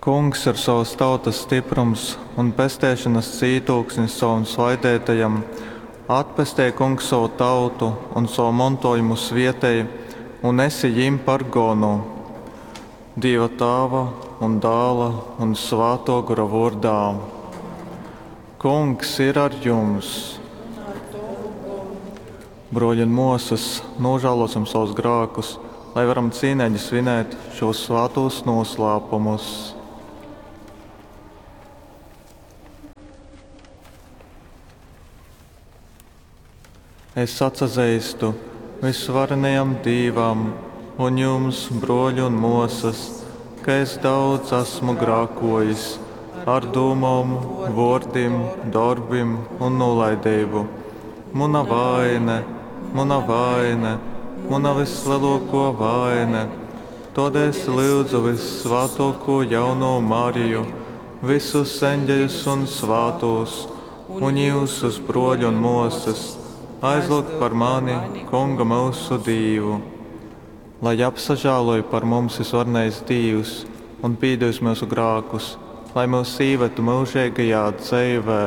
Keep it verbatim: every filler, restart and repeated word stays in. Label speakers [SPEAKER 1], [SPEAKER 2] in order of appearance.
[SPEAKER 1] Kungs ir sovas tautas styprums un pesteišonas cītūksnis sovam svaideitajam. Atpestej, Kungs, sovu tautu un sovu montōjumu svietej un esi jim par gonu. Dīva Tāva un Dāla un Svātō Gora vōrdā. Kungs ir ar jums! Brōļi un mōsas, nūžālōsim savus grākus, lai varam cīneigi svinēt šūs svātūs noslēpumus. Es atsazeistu vysvarenajam Dīvam un jums, brōļi un mōsas, ka es daudz esmu grākōjis ar dūmom, vōrdim, dorbim un nūlaideibu. Muna vaine, muna vaine, muna vyslelōkō vaine. Tōdēļ es lyudzu vyssvātōkū jaunō Mariju, visus eņģeļus un svātūs, un jyusus, brōļi un mōsas, aizlyugt par mani Kungu myusu Dīvu. Lai apsažāloj par mums vysvarenais Dīvs un pīdūs myusu grākus, lai myus īvetu myužeigajā dzeivē.